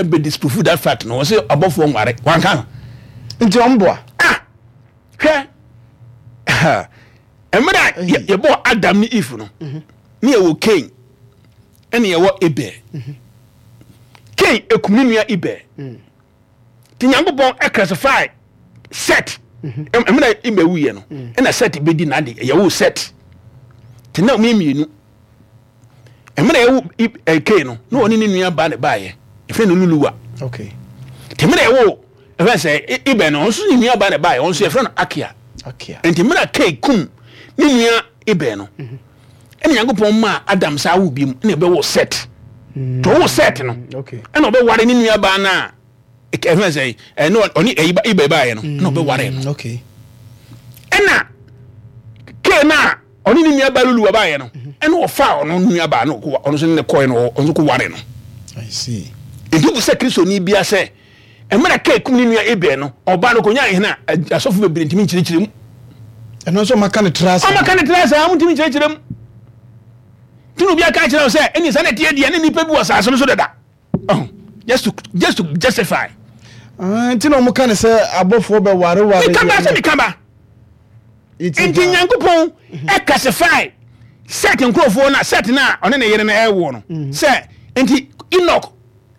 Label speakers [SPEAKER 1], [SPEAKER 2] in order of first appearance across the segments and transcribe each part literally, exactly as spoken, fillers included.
[SPEAKER 1] Ɛbɛ disprove that fact no. Wɔsɛ abɔfoɔ nware, wanka no.
[SPEAKER 2] Nti ɔmboa.
[SPEAKER 1] Ah, hwɛ, mmerɛ a yɛ- yɛbɔɔ Adam ne Eve no, ne yɛwɔ Cain ɛne yɛwɔ Abel. Cain ekum ne nua Abel, nti Nyankopɔn ɛclassify Set. Mmerɛ Abel wuyɛ no, ɛna Set bɛdi n'ade. Yɛwɔ Set nti na ɔmo mmienu. Mmerɛ yɛwɔ I- ɛ, Cain no, na ɔne ne nua ba ne baayɛ, yɛfrɛ no Luluwa.
[SPEAKER 2] Okay
[SPEAKER 1] nti mmerɛ yɛwɔ ɛfɛ sɛ Abel no, ɔno nso ne nua ba ne baayɛ, ɔno nso yɛfrɛ no Akia.
[SPEAKER 2] Okay
[SPEAKER 1] nti mmerɛ Cain kum ne nua Abel no, ɛna Nyankopɔn maa Adam saa awo bi mu, ɛna ɛbɛwɔ Set. Nti ɔwɔ Set no,
[SPEAKER 2] okay
[SPEAKER 1] ɛna ɔbɛware ne nua baa no a ɛfɛ sɛ ɛne ɔne ɛyi ba Abel baayɛ no, ɛna ɔbɛware no.
[SPEAKER 2] Okay
[SPEAKER 1] ɛna Cain no a ɔne ne nua baa Luluwa baayɛ no, ɛna ɔfa ɔno nua baa no, ɔkɔ- ɔno nso ne ne kɔɛ no, ɔno nso kɔ ware no.
[SPEAKER 2] I see.
[SPEAKER 1] Nti bu sɛ Kristoni bia sɛ mmerɛ Cain kum ne nua Abel no, ɔbaa no kɔnya ahene a asɔfo bebree ntumi nkyerɛkyerɛ mu.
[SPEAKER 2] Ɛno nso ɔmaka ne tra ase.
[SPEAKER 1] Ɔma ka ne tena saa, motumi nkyerɛkyerɛ mu. Nti na obi aka kyerɛ wo sɛ ɛne saa na ɛteɛ deɛ, ne nnipa bi wɔ asase no so dada. Ɔho, just to just to justify.
[SPEAKER 2] Ah, nti na ɔmo ka ne sɛ abɔfoɔ bɛ ware ware.
[SPEAKER 1] Meka ba sɛ meka ba. Nti Nyankopɔn ɛclassify Set nkurɔfoɔ no a Set no a ɔne ne yere no ɛwoɔ no sɛ, nti Enoch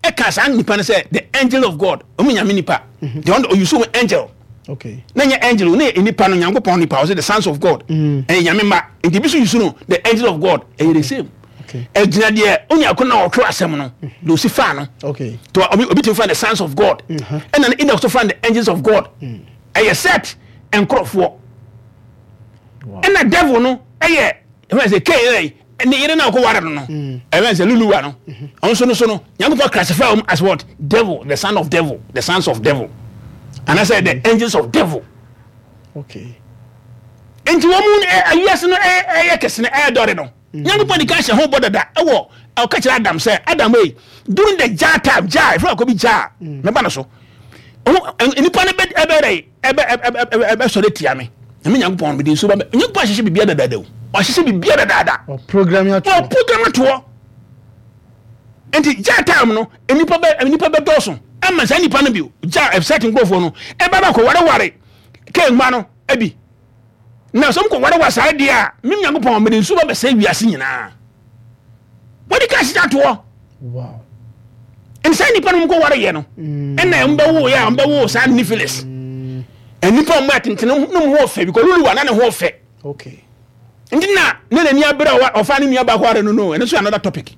[SPEAKER 1] ɛka saa nipa no sɛ the angel of God, ɔmo Nyame nipa deɛ, ɔno ɔuse wɔn angel.
[SPEAKER 2] Okay
[SPEAKER 1] na nyɛ angel ne yɛ nipa no, Nyankopɔn nipa, ɔsɛ the sons of God, ɛyɛ Nyame mma. Nti bi so use no the angel of God, ɛyɛ the same.
[SPEAKER 2] Okay
[SPEAKER 1] ɛgyina deɛ onya ko na ɔtwerɛ asɛm no de osi fa no.
[SPEAKER 2] Okay
[SPEAKER 1] to obi obi tumi fa the sons of God, ɛna ne Enoch so fa the angels of God. Ɛyɛ Set nkorɔfoɔ. Ɛna devil no ɛyɛ ɛfɛ sɛ Cain yɛrɛ ne yere na ɔkɔ ware no no ɛfɛ sɛ Luluwa no, ɔno nso no so no, Nyankopɔn classify wɔn as what? Devil, the son of devil, the sons of devil, anaasɛ the angels of devil.
[SPEAKER 2] Okay
[SPEAKER 1] nti wɔn mu ɛ awiase no ɛ ɛyɛ kɛse no, ɛyɛ dɔre no, Nyankopɔn de ka hyɛ ho bɔ dada. Ɛwɔ ɔka kyerɛ Adam sɛ, Adam yi, during the jar time, jar efra kɔ bi jar mɛba no so, ɔho ɛ nipa no bɛ ɛbɛ dɛ ɛbɛ ɛbɛ ɛbɛ ɛbɛ sɔrɔ tia mi ɛmi Nyankopɔn mi de nsuo ba bɛ. Nyankopɔn ahyehyɛ biribiara dadaada o, ɔahyehyɛ biribiara dadaada.
[SPEAKER 2] Ɔ program ato.
[SPEAKER 1] Ɔ program atoɔ. Nti jar time no, nipa bɛ nipa bɛ dɔɔso ama saa nipa no bi jar ɛsɛt nkurɔfoɔ no ɛbɛ bɛ kɔ wareware Cain mma no ebi na sɛ mkɔ wareware saa deɛ a, mem Nyankopɔn mede nsuo ba bɛsɛ wiase nyinaa. Wɔde ka hyehyɛ atoɔ.
[SPEAKER 2] Wow
[SPEAKER 1] nsa nipa no mkɔ wareyɛ no, ɛna mbɛwo yɛ a mbɛwo saa Nephilim, nipa ɔmo atentene no mu ho ɔfɛ bi kɔ Luluwa na ne ho ɔfɛ.
[SPEAKER 2] Okay
[SPEAKER 1] nti na ne n'ani abere a ɔfa ne nua baako are no no ɛno nso yɛ another topic.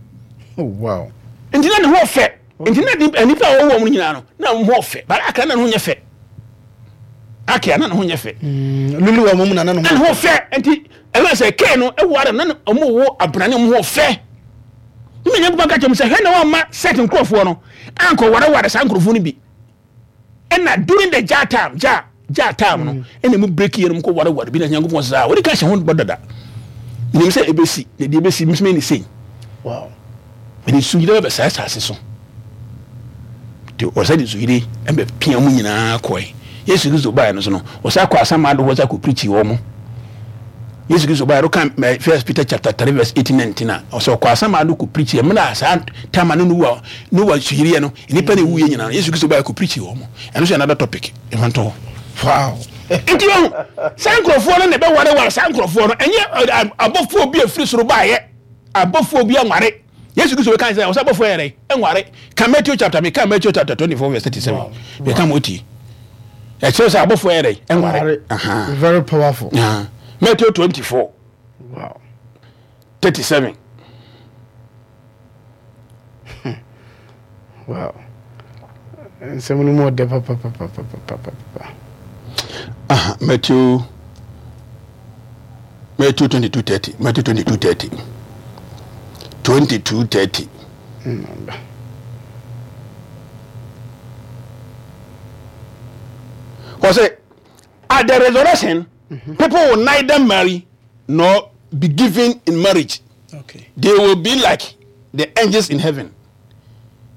[SPEAKER 2] Oh wow.
[SPEAKER 1] Nti na ne ho ɔfɛ, nti na di- nipa a wɔwɔ wɔn nyinaa no na wɔn ho ɔfɛ, bara akra na ne ho nyɛ fɛ, akia na ne ho nyɛ fɛ.
[SPEAKER 2] Lulu wɔ mu na na ne
[SPEAKER 1] Na ne ho fɛ. Nti ɛfɛ sɛ Cain no ɛwɔ ara na ne- ɔmo wo abrane, ɔmo ho fɛ. Ne ma Nyankopɔn ka kyerɛ mu sɛ, hwɛ na wɔn Set nkurɔfoɔ no ankɔ wareware saa nkurɔfoɔ no bi. Ɛna during the jar time, jar jar time no, ɛna mu break yɛ no mu kɔ wareware bi, na Nyankopɔn sɛ saa wɔde ka hyɛ ho bɔ dada nim sɛ ebesi na deɛ ebesi mi ne sei.
[SPEAKER 2] Wow
[SPEAKER 1] mede nsuyire bɛbɛ saa asase so, nti ɔsɛ de nsuyire ɛbɛ pia mu nyinaa kɔɛ. Yesu Kristo baeɛ no so no, ɔsɛ akɔ asamado hɔ sɛ akɔ preach wɔ mo. Yesu Kristo baeɛ no ka First Peter chapter three verse eighteen nineteen a, ɔsɛ ɔkɔ asamado kɔ preach. Mmerɛ a saa time a no Noa Noa nsuyire no, nnipa na ɛwuiɛ nyinaa no, Yesu Kristo baeɛ kɔ preach wɔ mo. Ɛno nso yɛ another topic, ɛfa ntɔ hɔ.
[SPEAKER 2] Wow
[SPEAKER 1] nti ɔho saa nkurɔfoɔ no na ɛbɛwareware saa nkurɔfoɔ no. Ɛnyɛ abɔfoɔ bi afiri soro baeɛ, abɔfoɔ bi anware. Yesu Kristo bɛka sɛ ɔsɛ abɔfoɔ yɛrɛ ɛnware. Ka Matthew chapter, meka Matthew chapter twenty four verse thirty seven, meka mo tie, ɛkyerɛ sɛ abɔfoɔ yɛrɛ ɛnware.
[SPEAKER 2] Very powerful.
[SPEAKER 1] Matthew twenty four
[SPEAKER 2] wow
[SPEAKER 1] thirty seven.
[SPEAKER 2] Wow, nsɛm no mu ɔdɛ papapapapapapa.
[SPEAKER 1] Matthew Matthew twenty two thirty, Matthew twenty two thirty, twenty two thirty.
[SPEAKER 2] Mm,
[SPEAKER 1] Wɔ at the resurrection, mm-hmm. people will neither marry nor be given in marriage.
[SPEAKER 2] Okay.
[SPEAKER 1] They will be like the angels in heaven.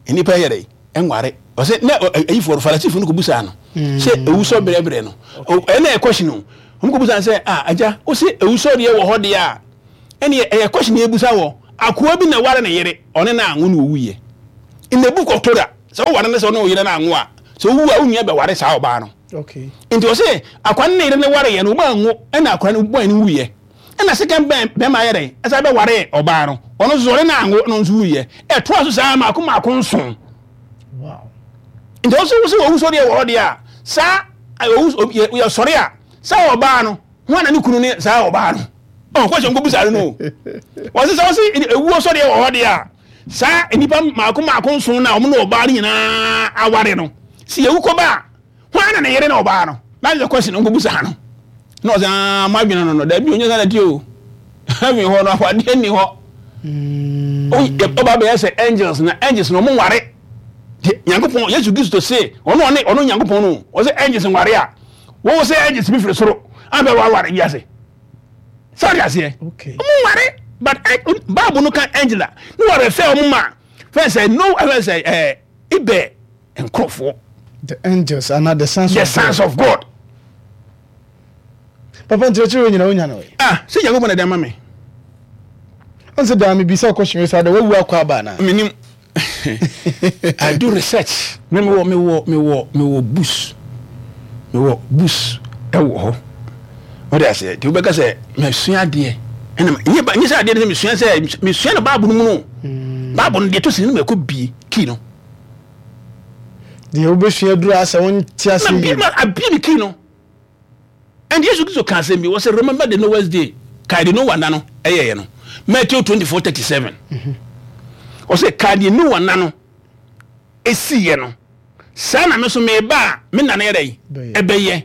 [SPEAKER 1] Nipa yɛ dɛ ɛnware. Ɔsɛ na ayifoɔ Farisifo no kò busa no sɛ ewusɔ brɛbrɛ no, ɛna ɛyɛ question o. Wɔn kò busa sɛ, ah, agya, o sɛ ewusɔ deɛ wɔ hɔ deɛ a, ɛna ɛyɛ question yɛ busa wɔ akoa bi na ware ne yere, ɔne na anwo na owu yɛ. In the Book of Torah, Sɛ woware no sɛ ɔne wo yere no anwo a, sɛ wowu a, wo nua bɛware saa ɔbaa no.
[SPEAKER 2] Okay.
[SPEAKER 1] Nti ɔse akwa no ne yere no wareɛ no, wɔn anwo, ɛna akwa no bɔe no wuiɛ. Ɛna second bɛn bɛrima ayɛ dɛn? Ɛsan bɛwaree ɔbaa no. Ɔno nso ɔne no anwo, ɛna ɔno nso wuiɛ. Ɛtoa so saa mmaako mmaako nson.
[SPEAKER 2] Wow.
[SPEAKER 1] Nti ɔse wo sɛ owu sɔreɛ wɔ hɔ deɛ a, saa owu yɛsɔre a, saa ɔbaa no, hwan na ne kunu ne saa ɔbaa no? Ɔn question nkɔ bisa no o. Wɔse sɛ wɔse ewuo sɔreɛ wɔ hɔ deɛ a, saa nnipa mmaako mmaako nson no a wɔn ne ɔbaa no nyinaa aware no, sɛ yɛwu kɔba a, hwan na ne yere ne ɔbaa no? That is the question nkɔ bisa no. Na ɔsɛ aa mo adwene no no, dabi onye saa na ti o. Heaven hɔ no awadeɛ nni hɔ. Ɔba bɛyɛ sɛ angels na angels na wɔn nware. Nyankopɔn Yesu Kristo se ɔno ɔne ɔno Nyankopɔn no ɔsɛ angels nware a wɔwɔ sɛ angels bi firi soro abɛ waware wiase. Sɛ ɔde aseɛ. Ɔmo nware but Bible no ka angel a ne wɔre fɛ ɔmo ma fɛn sɛ no fɛn sɛ ɛɛ ibɛ nkorɔfoɔ.
[SPEAKER 2] The angels are not the sons
[SPEAKER 1] the
[SPEAKER 2] of
[SPEAKER 1] sons
[SPEAKER 2] God.
[SPEAKER 1] of God.
[SPEAKER 2] Papa nkyerɛkyerɛ wɔ nyina wonya no.
[SPEAKER 1] Ah, sɛ Nyankopɔn na ɛde ama me.
[SPEAKER 2] Ɔnsɛ daa mebisa question wei saa da wawu akɔ aba anaa?
[SPEAKER 1] Menim. I do research. Me mewɔ mewɔ mewɔ mewɔ books. Mewɔ books ɛwɔ hɔ. Wɔde aseɛ nti wobɛka sɛ masua adeɛ ɛna nyɛ ba nyɛ sɛ adeɛ no sɛ mesua sɛ mesua no Bible no mu no. Bible no deɛ ɛtɔ sini no mɛkɔ bie key no.
[SPEAKER 2] Deɛ wobɛsua duru asɛ wonte ase
[SPEAKER 1] yie. Ma abie me key no. And Yesu Kristo ka asɛm bi wɔ sɛ remember the Noah's day. Kae de Noah nna no ɛyɛeɛ no. Matthew twenty four thirty seven. Ɔsɛ kae deɛ Noah nna no ɛsiiɛ no. Saa na me nso meba a me nna no yɛ dɛn? Ɛbɛyɛ.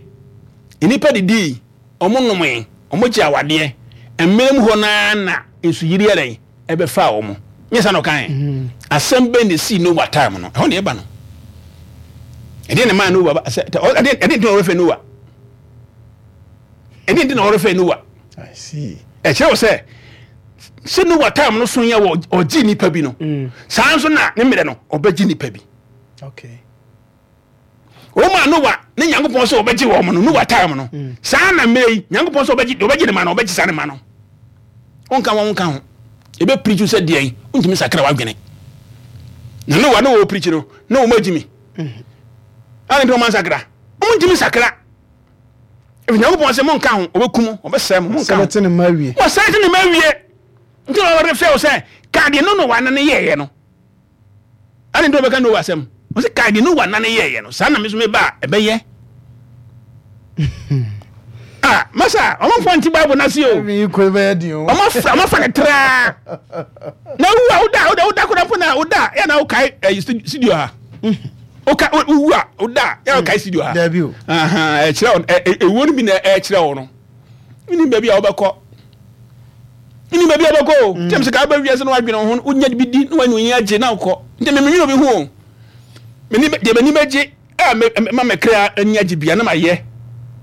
[SPEAKER 1] Nnipa didii, wɔn nomee, wɔn gye awadeɛ. Mmerɛ mu hɔ no ara na nsuyiri yɛ dɛn? Ɛbɛfaa wɔn. Nyɛ saa na ɔkaeɛ? Asɛm bɛn na ɛsii Noah time no? Ɛhɔ na ɛba no. Ɛdeɛ na ɛmaa Noah ba sɛ ɛdeɛ ɛdeɛ nti na ɔrefɛ Noah. Ɛdeɛ nti na ɔrefɛ Noah.
[SPEAKER 2] I see.
[SPEAKER 1] Ɛkyerɛ wɔ sɛ sɛ Noah time no so yɛ wɔ ɔgye nipa bi no. Saa nso na ne mmerɛ no ɔbɛgye nipa bi.
[SPEAKER 2] Okay.
[SPEAKER 1] Wɔn a Noah ne Nyankopɔn sɛ ɔbɛgye wɔn no Noah time no. Saa na mmerɛ yi Nyankopɔn sɛ ɔbɛgye ɔbɛgye ne ma no ɔbɛgye saa ne ma no. Wonka wɔn nka ho. Ebe preach sɛ deɛn wontumi sakra w'adwene. Na Noah ne wɔ preach no na wɔn agyi mi. Ana nti wɔn ansakra? Wɔn ntumi sakra. Efi Nyankopɔn sɛ monka ho, ɔbɛkum mo, ɔbɛsɛe mo, monka ho.
[SPEAKER 2] Wɔsɛe ne mma awie.
[SPEAKER 1] Wɔsɛe ne mma awie. Nti na wɔde fɛ wo sɛ ka deɛ no Noah nane yɛɛyɛ no. Ana nti wɔbɛka Noah asɛm? Wɔsɛ ka deɛ Noah nane yɛɛyɛ no. Saa na me nso meba a ɛbɛyɛ. Ah, masa, wɔn mfa nti Bible n'ase o. Wɔn afa ne traa. Na wu a woda woda woda koraa mpo na woda yɛ na wokae ɛyi studio ha. Woka wowu a woda yɛ wokae studio ha.
[SPEAKER 2] Dabi o.
[SPEAKER 1] Ɛkyerɛ wo ewuo no bi na ɛkyerɛ wo no. Wonim baabi a wobɛkɔ. Wonim baabi a wobɛkɔ o. Tɛm sɛ ka wobɛ wiase na wadwene wo ho wonya bi di na wanya onyi agye na wokɔ. Nti me menwene obi ho o. Meni deɛ m'ani bɛgye a me ma me kra ani agye bia na mayɛ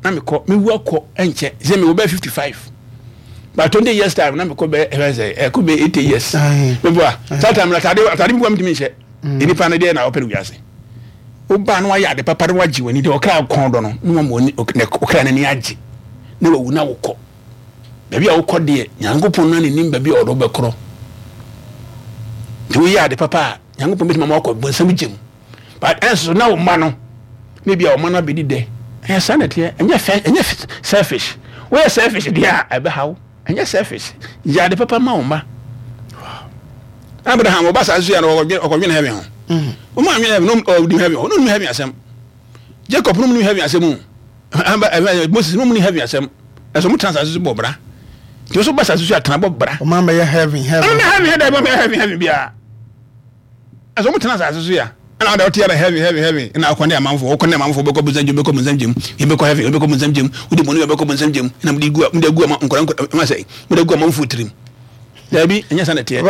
[SPEAKER 1] na mekɔ mewu akɔ ɛnkyɛ sɛ mewɔ bɛyɛ fifty five by twenty years time na mekɔ bɛyɛ ɛfɛ sɛ ɛkɔ bɛyɛ eighty years meboa saa time na atade atade bi wa metumi nhyɛ nipa no deɛ na ɔpɛ no wiase wobaa na wayɛ ade papa na wagye w'ani deɛ ɔkra kɔn dɔ no na wama w'ani ɔkra n'ani agye na wawu na wokɔ baabi a wokɔ deɛ Nyankopɔn na ne nim baabi a ɔde wobɛkorɔ nti woyɛ ade papa a Nyankopɔn bɛtumi ama wakɔ bonsam gya mu. But ɛnso na wo mma no na ebi a wo mma no abɛdi dɛ. Ɛyɛ saa na ɛteɛ. Ɛnyɛ fɛ, ɛnyɛ selfish. Woyɛ selfish deɛ a ɛbɛha wo. Ɛnyɛ selfish. Yɛ ade papa ma wo mma. Abraham ɔba saa nso yɛ no ɔkɔdwene heaven ho. Wɔn a nwene heaven no ɔdim heaven hɔ. No nim heaven asɛm. Jacob no nim heaven asɛm o. Moses no nim heaven asɛm. Ɛsɛ wɔn tena asase so bɔ bra. Nti wɔn nso ba asase so atena bɔ bra.
[SPEAKER 2] Wɔn amɛyɛ heaven heaven.
[SPEAKER 1] Wɔn heaven heaven wɔn heaven heaven biara. Ɛsɛ wɔn tena asase so ya. Ɛna ɔda ɔte yɛrɛ heaven heaven heaven. Ɛna ɔkɔ ne amanfo ɔkɔ ne amanfo bɛkɔ bonsam gyem bɛkɔ bonsam gyem. Yɛbɛkɔ heaven yɛbɛkɔ bonsam gyem. Wode bɔne bɛkɔ bonsam gyem. Ɛna mode gu mode agu ama nkɔla nkɔla ɛma sɛ mode agu amanfo tirim. Daabi ɛnyɛ saa na ɛteɛ.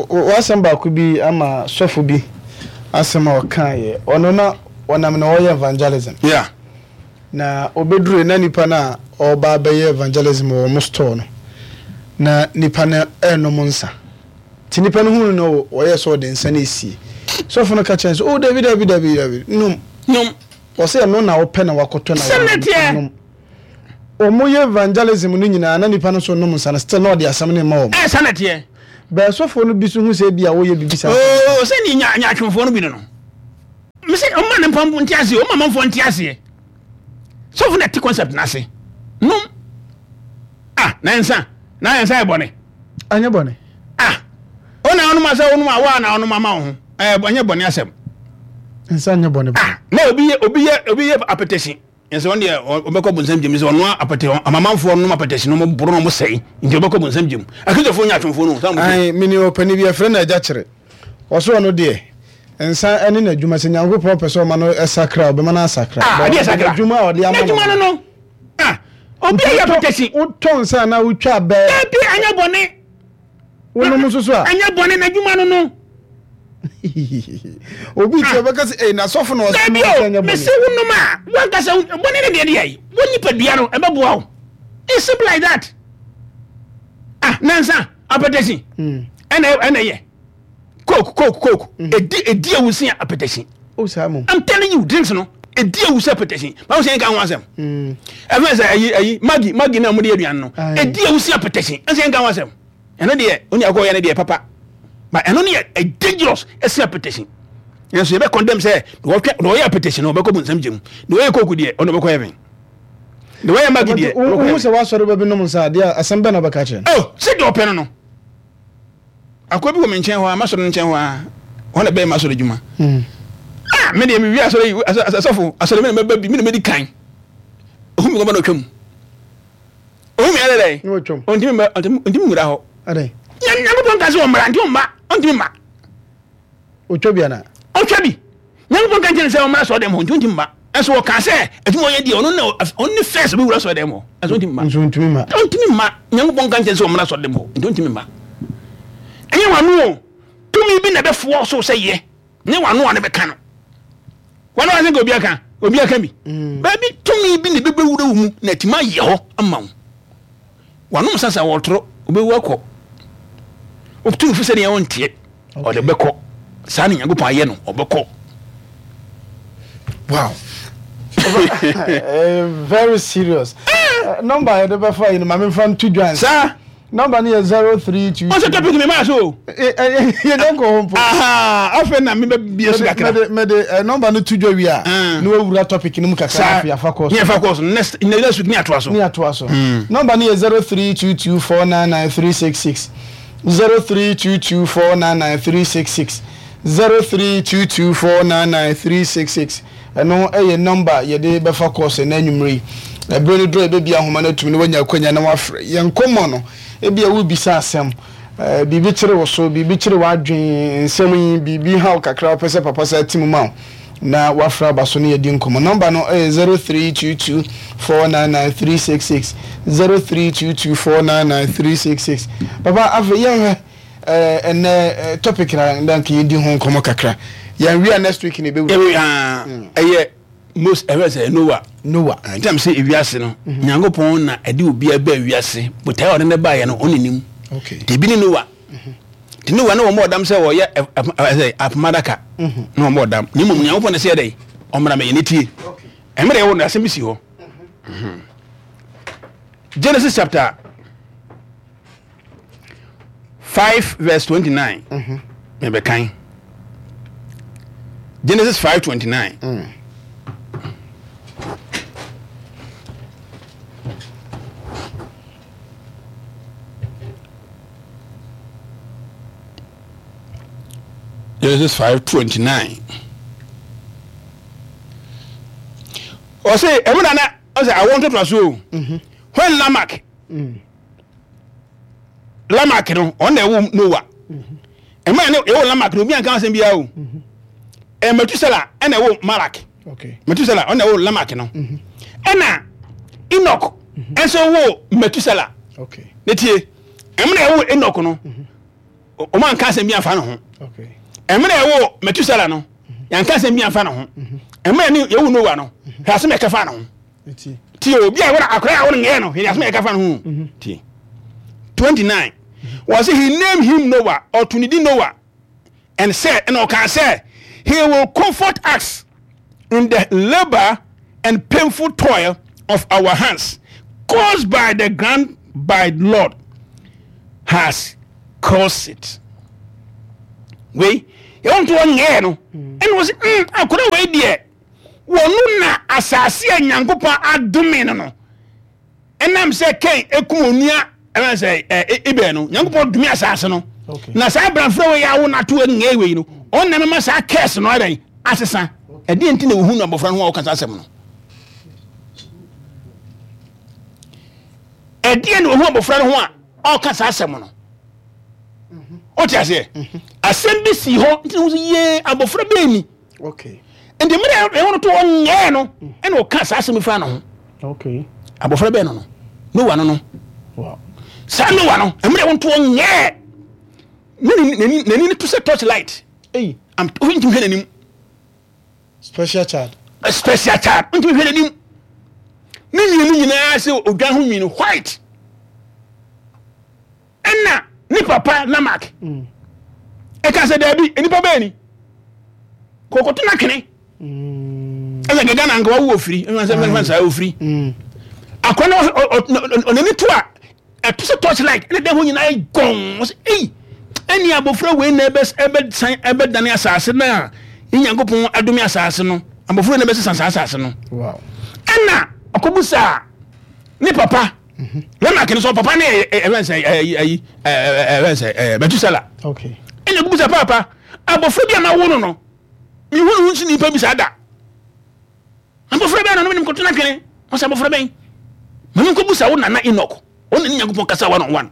[SPEAKER 2] W'asɛm baako bi ama sɔfo bi asɛm a ɔkaeɛ. Ɔno na ɔnam na ɔyɛ evangelism.
[SPEAKER 1] Yeah.
[SPEAKER 2] Na ɔbɛdurui na nipa no a ɔreba abɛyɛ evangelism wɔ wɔn store no, na nipa no renom nsa. Nti nipa no huu no no, ɔyɛɛ sɛ ɔde nsa no resie. Sɔfo no ka kyerɛɛ no sɛ, Oh, dabi, dabi, dabi, dabi, nom.
[SPEAKER 1] Nom.
[SPEAKER 2] Ɔsɛ ɛno na wopɛ na wakɔtɔ na
[SPEAKER 1] wanom.
[SPEAKER 2] Wɔyɛ evangelism no nyinaa na nipa no nso nom nsa no, still na ɔde asɛm no rema wɔn.
[SPEAKER 1] Ɛɛ, saa na ɛteɛ.
[SPEAKER 2] Bɛɛ sɔfoɔ no bi nso hu sɛ ebia woyɛ biribi saa.
[SPEAKER 1] Oh, sɛ ne nya nyaatwomfoɔ no bi no no. Mese ɔma ne mpampo nte aseɛ, ɔma amanfoɔ nte aseɛ. Sɔfo na ɛte concept no ase. Nom. Ah, na nsa, na nsa yɛ bɔne.
[SPEAKER 2] Ɛnyɛ bɔne.
[SPEAKER 1] Ah, ɔna ɔnom asɛ ɔnom a, waa na ɔnom ama wo ho. Ɛyɛ ɛnyɛ bɔne asɛm.
[SPEAKER 2] Nsa nyɛ bɔne.
[SPEAKER 1] Ah, na obi yɛ obi yɛ obi yɛ apɛtɛsi. Yɛsɛ wɔn deɛ ɔbɛkɔ bonsam gyem sɛ ɔno apɛtɛ amamanfoɔ nom apɛtɛsi no ɔmo boro na ɔmo sɛe nti ɔbɛkɔ bonsam gyem. Akristofoɔ nyɛ atwomfoɔ no. Saa mo
[SPEAKER 2] Ae, mene ɔpani bi yɛfrɛ no Agya Kyere. Ɔse ɔno deɛ, nsa ɛne n'adwuma, sɛ Nyankopɔn pɛ sɛ ɔma no sakra a, ɔbɛma no asakra.
[SPEAKER 1] Ah,
[SPEAKER 2] But
[SPEAKER 1] adeɛ sakra.
[SPEAKER 2] N'adwuma a ɔde ama no.
[SPEAKER 1] N'adwuma no no. Ah, obi ayɛ apɛtɛsi.
[SPEAKER 2] Wotɔ nsa anaa wotwa abɛ.
[SPEAKER 1] Dabi, anyɛ bɔne.
[SPEAKER 2] Wonom nso so a.
[SPEAKER 1] Anyɛ bɔne, n'adwuma no no.
[SPEAKER 2] Obi ti ɔbɛka sɛ, "Ei, n'asɔfo na ɔsɛ
[SPEAKER 1] no
[SPEAKER 2] sɛ nyɛ bɔne."
[SPEAKER 1] Mese wonom a, wankasa bɔne ne deɛ deɛ yi, wo nipadua no ɛbɛboa wo. It's simple like that. Ah, nansa apɛtɛsi. Ɛna ɛna yɛ. Coke, coke, coke. Edi edi ewu sin apɛtɛsi.
[SPEAKER 2] Oh, saa mo.
[SPEAKER 1] I'm telling you, drinks no. Edi ewu sɛ apɛtɛsi. Báwo sɛ yɛn ka ho asɛm? Ɛfɛn sɛ ɛyi ɛyi Maggi Maggi na mo de aduane no. Edi ewu sin apɛtɛsi. Ɛsɛ yɛn ka ho asɛm. Ɛno deɛ oni akɔ yɛ no deɛ papa. But ɛno no yɛ dangerous ɛsɛ apɛtɛsi. Nanso yɛbɛ condemn sɛ na wɔtwɛ na wɔyɛ apɛtɛsi no wɔbɛkɔ bonsam gyem. Na wɔyɛ coke deɛ ɔno ɔbɛkɔ heaven. Na wɔyɛ Maggi deɛ ɔbɛkɔ
[SPEAKER 2] heaven.
[SPEAKER 1] Wohu
[SPEAKER 2] sɛ wasɔre bɛbi nom nsa adeɛ asɛm bɛn na ɔbɛka kyerɛ
[SPEAKER 1] no? Oh, sɛ deɛ ɔpɛ no no. Akoa bi wɔ me nkyɛn hɔ a, m'asɔre no nkyɛn hɔ a, hɔ na ɛbɛyɛ m'asɔre adwuma. Ah, me deɛ mewie asɔre yi, asɔfo, asɔre me na mɛba bi, me na mɛdi kan. Ohun mi kɔba na ɔtwam. Ohun mi ayɛ dɛ. Ɔntumi mma, ɔntumi nwura hɔ. Nyankopɔn ka sɛ ɔmmra, nti ɔmma, ɔntumi mma.
[SPEAKER 2] Ɔtwa bi ana?
[SPEAKER 1] Ɔtwa bi. Nyankopɔn ka nkyɛn sɛ ɔmmra sɔɔ dɛm hɔ, nti ɔntumi mma. Ɛnso ɔka sɛ adwuma ɔyɛ deɛ ɔno na ɔno ne first ɔbɛwura sɔɔ dɛm hɔ. Ɛnso ɔntumi mma.
[SPEAKER 2] Nso ɔntumi mma.
[SPEAKER 1] Ɔntumi mma. Nyankopɔn ka nkyɛn sɛ ɔmmra sɔɔ dɛm hɔ, nti ɔntumi mma. Ɛnyɛ wano o. Tumi bi na ɛbɛfoɔ so sɛ yɛ. Nyɛ wano a ne bɛka no. Wano a sɛ nka obi aka, obi aka bi. Mm. Baabi tumi bi na ɛbɛbɛwura wo mu na atumi ayɛ hɔ ama wo. Wanom sasa wɔtoro, wobɛwu akɔ. Wotumi fo sɛdeɛ wonteɛ. Ɔde bɛkɔ. Saa na Nyankopɔn ayɛ no, ɔbɛkɔ.
[SPEAKER 2] Wow. Very serious. Number yɛde bɛfa yi no, ma memfa nto dwa.
[SPEAKER 1] Saa.
[SPEAKER 2] Number no yɛ zero three two.
[SPEAKER 1] Ɔsɛ topic mi maa so.
[SPEAKER 2] Yɛ dɛ nkɔ hɔ mpo.
[SPEAKER 1] Afei na mi bɛ bie so kakra.
[SPEAKER 2] Mɛde mɛde number no to dwa wie a. Na wawura topic no mu kakra na afei afa kɔɔ so.
[SPEAKER 1] Ní afa kɔɔ so next next week ní atoa so.
[SPEAKER 2] Ní atoa so. Number no yɛ zero three two two four nine nine three six six zero three two two four nine nine three six six zero three two two four nine nine three six six. Ɛno yɛ nɔmba a yɛde bɛfa kɔɔso ɛnnɛ anwummere yi. Ɛberɛ no duru a yɛbɛbue ahoma no atum na woanya akwanya na woafrɛ. Yɛn nkɔmmɔ no, ebia worebisa asɛm, biribi kyere wo so, biribi kyere w'adwene, nsɛm yi, biribi ha wo kakra a wopɛ sɛ papa san ti mu ma wo na woafrɛ aba so na yɛadi nkɔmmɔ. Nɔmba no yɛ zero three two two four nine nine three six six, zero three two two four nine nine three six six. Papa, afei yɛnhwɛ. Eh, ɛnɛ topic na na nka yɛdi ho nkɔmmɔ kakra. Yɛn wia next week na ɛbɛwura.
[SPEAKER 1] Ɛwɛ ah, mm. ɛyɛ most ɛwɛ sɛ Noah.
[SPEAKER 2] Noah.
[SPEAKER 1] Ah, ntam sɛ ewiase no, mhm. Nyankopɔn na ɛde obiara baa wiase. Botae a ɔde ne baeɛ no, ɔne nim.
[SPEAKER 2] Okay.
[SPEAKER 1] Nti ebi ne Noah.
[SPEAKER 2] Mhm.
[SPEAKER 1] Nti Noah ne wɔn bɔ ɔdam sɛ wɔyɛ ɛsɛ apomadaka.
[SPEAKER 2] Mhm.
[SPEAKER 1] Na wɔn bɔ ɔdam. Ne mmom Nyankopɔn na sɛ yɛ dɛ, ɔmmra mɛyɛ ne tie. Ɛmɛ deɛ ɛwɔ no asɛm bi si hɔ. Genesis chapter five verse twenty nine mebɛkan Genesis five twenty nine.
[SPEAKER 2] Mm.
[SPEAKER 1] Genesis five twenty nine. Ɔsɛ ɛmu nana ɔsɛ awɔ ntotoaso o. When Lamak.
[SPEAKER 2] Mm.
[SPEAKER 1] Lamak no ɔno na ɛwɔ Noah ɛma ne ɛwɔ Lamak no obi anka asɛm biara o ɛ Metusela ɛna ɛwɔ Malak Metusela ɔno na ɛwɔ Lamak no ɛna Enoch ɛnso wɔ Metusela ne tie ɛma na ɛwɔ Enoch no ɔmo anka asɛm bi anfa ne ho ɛma na ɛwɔ Metusela no yanka asɛm bi anfa ne ho ɛma na ɛwɔ Noah no hwɛ asɛm ɛka fa ne ho. Tie obi a wɔn akora a wɔn nyɛ no hwɛ asɛm a yɛka fa no ho.
[SPEAKER 2] Mhm.
[SPEAKER 1] Tie. Twenty nine. Wɔsi he named him Noah ɔto ne din Noah and said ɛna ɔka sɛ he will comfort us in the labour and painful toil of our hands caused by the ground by Lord has caused it. Wei Yɛwɔ nto ɔnyɛɛ no, ɛna wɔ sɛ mm akora wei deɛ, wɔno na asase a Nyankopɔn adome no no ɛnam sɛ Kain ekum onua ɛna sɛ ɛ Abel no, Nyankopɔn dome asase no.
[SPEAKER 2] Okay.
[SPEAKER 1] Na saa abranfra wei awo n'ato nyɛɛ wei no, ɔno na mɛma saa curse no ayɛ asesa. Ɛdeɛ nti na wohu no abɔfra no ho a wɔka saa asɛm no? Ɛdeɛ na wohu abɔfra no ho a ɔka saa asɛm no? Wote aseɛ? Asɛm bi si hɔ nti na wohu sɛ yee, abɔfra bɛɛ ni.
[SPEAKER 2] Okay.
[SPEAKER 1] Nti mmerɛ ɛwɔ no to ɔnyɛɛ no, ɛna ɔka saa asɛm fa no ho.
[SPEAKER 2] Okay.
[SPEAKER 1] Abɔfra bɛɛ no no Noa no no.
[SPEAKER 2] Wow.
[SPEAKER 1] Saa Noa no, mmerɛ ɛwɔ no to ɔnyɛɛ n'ani n'ani to sɛ torch light.
[SPEAKER 2] Ei.
[SPEAKER 1] Am ntumi hwɛ n'anim.
[SPEAKER 2] Special child.
[SPEAKER 1] A special child, ntumi hwɛ n'anim. Ne mmienu nyinaa sɛ odwan ho nwii white. Ɛna ne papa Lamak ɛka sɛ daabi, nipa bɛɛ ni kɔkɔto n'atwene. Ɛsɛ gɛgɛ na nka wawu ofiri ɛsɛ sɛ fɛn saa ofiri akɔ na ɔnani to a ɛto sɛ torch light, ɛna dɛm ho nyinaa yɛ gɔn. Ɔsɛ eyi ɛni abɔfra wei na ɛbɛ ɛbɛ san ɛbɛ dane asase na Nyankopɔn adome asase no, abɔfra wei na ɛbɛ sisan saa asase no.
[SPEAKER 2] Wow.
[SPEAKER 1] Ɛna ɔkɔbusa ne papa Lamak no sɛ papa ne ɛfɛn sɛ ɛyi ɛyi ɛfɛn sɛ ɛɛ Metusela.
[SPEAKER 2] Okay.
[SPEAKER 1] Ɛna ɔkɔbusa papa, abɔfra bi a ma wo no no mihu ne ho nsi nipa bi saa da, abɔfra bɛn na no menim kɔto no atwene? Ɔsɛ abɔfra bɛn? Ma menkɔbusa wo nana Enoch, ɔne ne Nyankopɔn kasa one on one.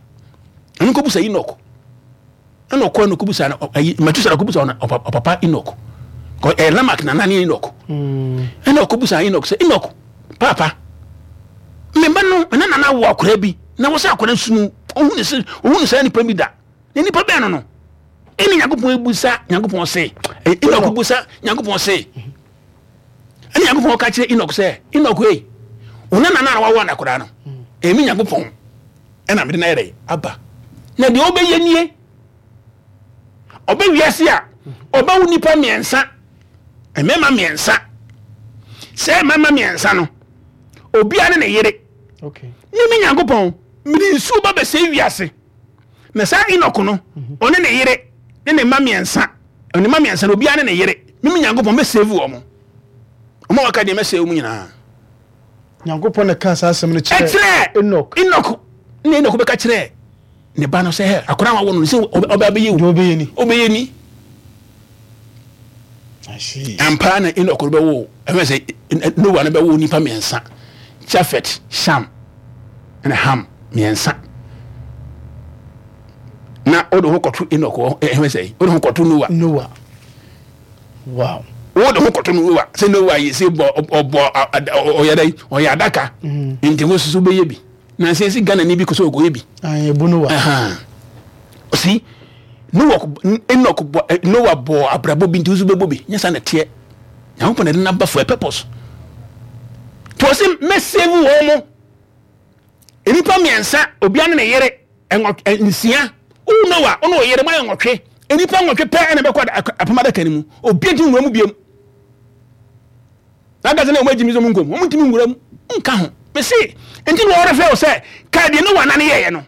[SPEAKER 1] Ma menkɔbusa Enoch. Ɛna ɔkɔ no kɔbusa no, ayi Metusela kɔbusa ɔna ɔpapa Enoch, ɛyɛ Lamak nana ne Enoch. Ɛna ɔkɔbusa Enoch sɛ, Enoch papa, memba no mena nana wo akora bi na wɔ sɛ akora sunu ɔhu ne sɛ ɔhu ne saa nipa bi da, na nipa bɛn no no ɛne Nyankopɔn ebusa Nyankopɔn se Enoch busa Nyankopɔn se, ɛne Nyankopɔn ka kyerɛ Enoch sɛ, Enoch ei, wo nana na wawo anakora no, ɛmi Nyankopɔn ɛna mede no ayɛ dɛ aba, na deɛ ɔbɛyɛ nie, ɔbɛ wiase a ɔbɛwo nipa mmiɛnsa, mmarima mmiɛnsa. Sɛ mmarima mmiɛnsa no, obiara ne ne yere.
[SPEAKER 2] Okay.
[SPEAKER 1] Ne me Nyankopɔn mede nsuo ba bɛsɛe wiase, na saa Enoch no, ɔne ne yere ne ne mma mmiɛnsa, ne mma mmiɛnsa no, obiara ne ne yere, me me Nyankopɔn mɛsave wɔn, ɔmo a waka deɛ mɛsave wɔn nyinaa.
[SPEAKER 2] Nyankopɔn na ka saa asɛm no kyerɛ
[SPEAKER 1] ɛkyerɛ
[SPEAKER 2] Enoch.
[SPEAKER 1] Enoch, ne Enoch bɛka kyerɛ ne ba no sɛ, hɛ, akora a wawo no sɛ ɔbɛ abɛyɛ
[SPEAKER 2] Deɛ
[SPEAKER 1] wo
[SPEAKER 2] ɔbɛyɛ ni.
[SPEAKER 1] Ɔbɛyɛ ni.
[SPEAKER 2] I see.
[SPEAKER 1] Ampa na Enoch no bɛwo, ɛfɛ sɛ Noah no bɛwo nipa mmiɛnsa, Jafet, Sham ɛna Ham, mmiɛnsa. Na wode ho kɔto Enoch hɔ, ɛfɛ sɛ wode ho kɔto Noah.
[SPEAKER 2] Noah. Wow.
[SPEAKER 1] Wode ho kɔto Noah sɛ Noah yi sɛ bɔ ɔbɔ ɔyɛ dɛ ɔyɛ adaka, nti wo soso bɛyɛ bi na sɛ si Ghana ni bi kɔ sɛ ɔkɔyɛ bi.
[SPEAKER 2] Ayi ebu Noah.
[SPEAKER 1] Ɔsi Noah, Enoch bɔ, Noah bɔ abrabɔ bi, nti wo nso bɛbɔ bi. Nyɛ saa na ɛteɛ. Nyankopɔn na ɛde n'aba for a purpose to ɔsi mɛsave wɔn mo nnipa mmiɛnsa, obiara ne ne yere, ɛnwɔ nsia. Wo Noah, wo ne wo yere mo ayɛ nwɔtwe. Nnipa nwɔtwe pɛ ɛna bɛkɔ apam adaka no mu. Obiara ntumi nwura mu biom. N'ankasa na wɔn agyi mi sɛ wɔn nkom, wɔn ntumi nwura mu nka ho. Mesi nti na wɔrefɛ wo sɛ kae deɛ Noah nane yɛyɛ no.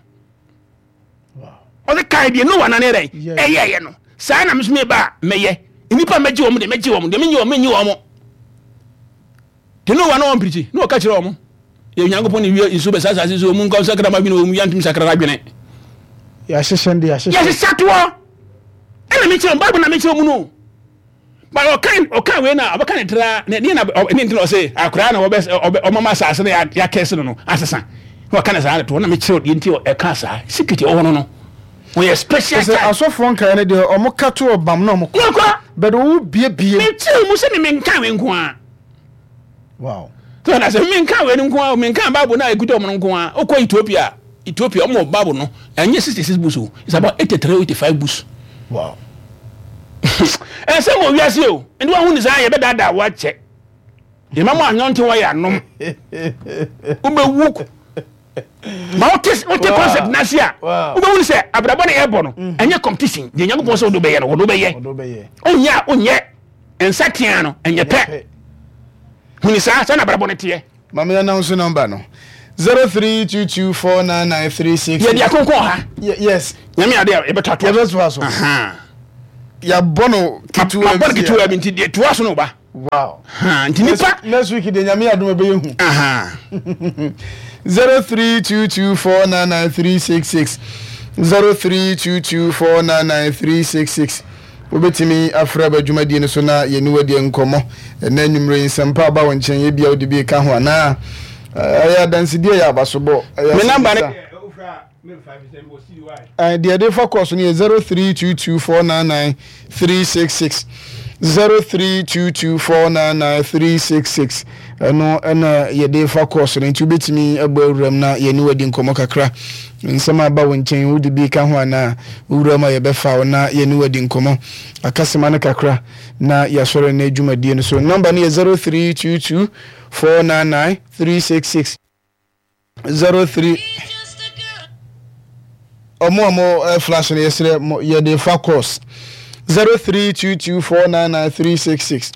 [SPEAKER 1] Ɔsɛ kae deɛ Noah nane yɛ dɛ ɛyɛyɛ no, saa na meso meba a mɛyɛ. Nnipa mɛgye wɔn deɛ mɛgye wɔn deɛ, menye wɔn menye wɔn deɛ. Noah na wɔn pirikyi na wɔka kyerɛ wɔn yɛ Nyankopɔn ne wie nsuo bɛsa asase so mu nkɔ sakra ma adwene wɔ mu, yɛntumi sakra adwene.
[SPEAKER 2] Yɛahyehyɛ de yɛahyehyɛ.
[SPEAKER 1] Yɛhyehyɛ toɔ ɛna mekyerɛ wɔn Bible na mekyerɛ mu no ba ɔkan ɔkan wei na ɔbɛka ne tra ne ne na ne ntina ɔsɛ akwaraa na ɔbɛ ɔbɛ ɔmama asase no yɛakɛse no no asesa na ɔka ne saa de toɔ na mekyerɛ deɛ nti ɛka saa secret ɔwɔ no no wɔyɛ special
[SPEAKER 2] Sɛ
[SPEAKER 1] child.
[SPEAKER 2] Asɔfoɔ nkaeɛ no deɛ, ɔmo ka to ɔbam na ɔmo kɔ.
[SPEAKER 1] Yɛkɔ.
[SPEAKER 2] But wo bie bie.
[SPEAKER 1] Mekyerɛ mu sɛ me menka wei nko a.
[SPEAKER 2] Wow.
[SPEAKER 1] So na sɛ menka wei no nko a, menka Bible na ɛkuta ɔmo no nko a. Wokɔ Ethiopia, Ethiopia ɔmo wɔ Bible no ɛnyɛ sixty six books o, it's about eighty three, eighty five books.
[SPEAKER 2] Wow.
[SPEAKER 1] Ɛsɛ wɔ wiase o, nti wahu ne saa yɛbɛdaadaa wakyɛ yɛma mo anyɔnte wɔ yɛ anom wobɛwu ma wote wote concept n'ase a, wobɛhu ne sɛ abrabɔ ne yɛbɔ no ɛnyɛ competition. Deɛ Nyankopɔn sɛ wode wobɛyɛ no, wode wobɛyɛ.
[SPEAKER 2] Ɔdɔ bɛyɛ.
[SPEAKER 1] Onyɛ a onyɛ nsa tea no ɛnyɛ pɛ. Huni saa sɛ na abrabɔ no teɛ.
[SPEAKER 2] Maame announce number no. Zero three two two four nine nine three six.
[SPEAKER 1] Yɛde akonkɔn ha.
[SPEAKER 2] Yes.
[SPEAKER 1] Nyame ade a yɛbɛtɔ ato.
[SPEAKER 2] Yɛbɛtoa so.
[SPEAKER 1] Aha.
[SPEAKER 2] Yɛabɔ no ketewa.
[SPEAKER 1] Mabɔ no ketewa bi, nti deɛ toa so no ba.
[SPEAKER 2] Wow.
[SPEAKER 1] Nti nipa
[SPEAKER 2] next week de Nyame adom ɛbɛyɛ hu.
[SPEAKER 1] Aha.
[SPEAKER 2] zero three two two four nine nine three six six zero three two two four nine nine three six six. Wobɛtumi afrɛ aba dwumadie no so na yɛne wadi nkɔmmɔ ɛnɛ anwummerɛ yi. Nsɛmpa aba wo nkyɛn, ebia wode bi ka ho anaa ɛyɛ adansedie, ɛyɛ abasobɔ, ɛyɛ
[SPEAKER 1] me number ne
[SPEAKER 2] asɛmmisa. Deɛ ɛde fa kɔɔ so no yɛ zero three two two four nine nine three six six zero three two two four nine nine three six six. Ɛno ɛna yɛde fa kɔɔ so no, nti wobɛtumi abɔ awuram na yɛne wadi nkɔmmɔ kakra. Nsɛm a aba wo nkyɛn, wode bi ka ho anaa wowuram a yɛbɛfa wo na yɛne wadi nkɔmmɔ akasema no kakra na yɛasɔre no adwumadie no so. Number no yɛ zero three two two four nine nine three six six zero three. Ɔmo a mo eh, flash no, yɛsrɛ mo, yɛde fa course zero three two two four nine nine three six six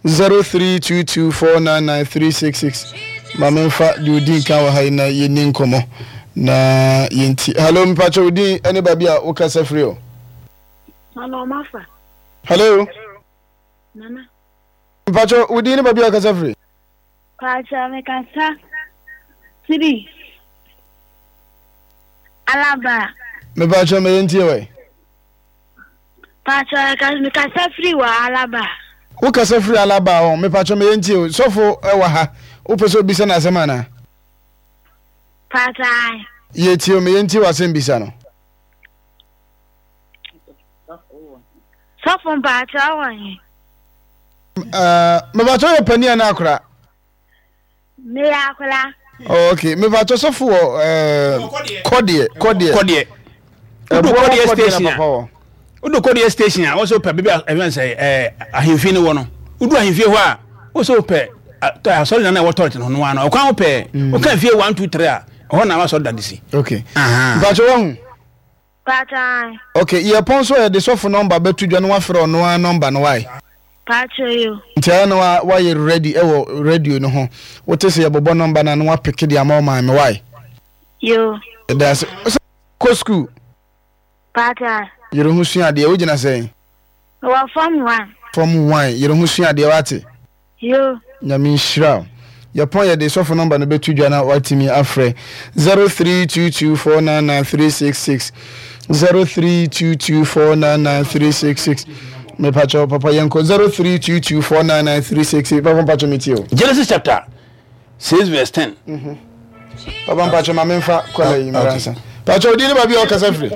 [SPEAKER 2] zero three two two four nine nine three six six. Maame, nfa deɛ odi nkan wɔ ha yi na yɛni nkɔmɔ na yɛnti. Hello, mpakyɛ, odin ɛne baabi a wokasa firi o?
[SPEAKER 3] Hello, Mafa.
[SPEAKER 2] Hello.
[SPEAKER 3] Nana.
[SPEAKER 2] Mpakyɛ, odin ne baabi a wokasa firi?
[SPEAKER 3] Pacha mekasa firi Alaba.
[SPEAKER 2] Mepakyɛ, mɛyɛ ntie wɛ.
[SPEAKER 3] Pacha mekasa firi wɔ Alaba.
[SPEAKER 2] Wokasa firi Alaba hɔ. Mepakyɛ, mɛyɛ ntie o. Sɔfo ɛwɔ ha, wopɛ sɛ obisa no asɛm anaa?
[SPEAKER 3] Pacha.
[SPEAKER 2] Yɛtie o, mɛyɛ ntie w'asɛm bisa no.
[SPEAKER 3] Sɔfo, mpacha wɔ he?
[SPEAKER 2] Mepakyɛ, yɛ pani anaa akora?
[SPEAKER 3] Meyɛ akora.
[SPEAKER 2] Oh, ok, mepakyɛ, sɔfo wɔ eh, kɔdeɛ kɔdeɛ
[SPEAKER 1] Kɔdeɛ. Wodu
[SPEAKER 2] ɛboɔ
[SPEAKER 1] Kɔdeɛ
[SPEAKER 2] wɔ kɔdeɛ
[SPEAKER 1] station
[SPEAKER 2] na
[SPEAKER 1] a
[SPEAKER 2] papa wɔ.
[SPEAKER 1] Wodu Kɔdeɛ station a, wɔsɛ wopɛ baabi a ɛfɛn sɛ ɛɛ ahemfie no wɔ no. Wodu ahemfie hɔ a, wɔsɛ wopɛ asɔre na na ɛwɔ toilet no no ano ɔkwan wopɛ. Woka fie one two three a, ɛhɔ na wasɔre dade si.
[SPEAKER 2] Ok, mpakyɛ, wahu.
[SPEAKER 3] Pacha.
[SPEAKER 2] Ok, yɛpɔn so a, yɛde sɔfo number bɛto dwa na wafrɛ ɔno ara number no wae.
[SPEAKER 3] Pacha yo.
[SPEAKER 2] Nti ayɛ na wa wayɛ ready ɛwɔ radio no ho. Wote sɛ yɛbobɔ number no a, na wapeke de ama wo maame wae.
[SPEAKER 3] Yo.
[SPEAKER 2] Ɛda ase sɛ kɔ school.
[SPEAKER 3] Pacha.
[SPEAKER 2] Yere ho sua adeɛ. Wogyina sɛn?
[SPEAKER 3] Wɔ form one.
[SPEAKER 2] Form one. Yere ho sua adeɛ, wate?
[SPEAKER 3] Yo.
[SPEAKER 2] Nyame nhyira wo. Yɛpɔn, yɛde sɔfo number no bɛto dwa na watumi afrɛ zero three two two four nine nine three six six zero three two two four nine nine three six six. Mepakyɛw papa, yɛnkɔ zero three two two four nine nine three six six. Papa, mpakyɛw, metie o.
[SPEAKER 1] Genesis chapter six verse ten.
[SPEAKER 2] Papa, mpakyɛw, ma memfa kɔla yi mmra nsa. Pakyɛw, odi ne baabi a ɔkasa firi?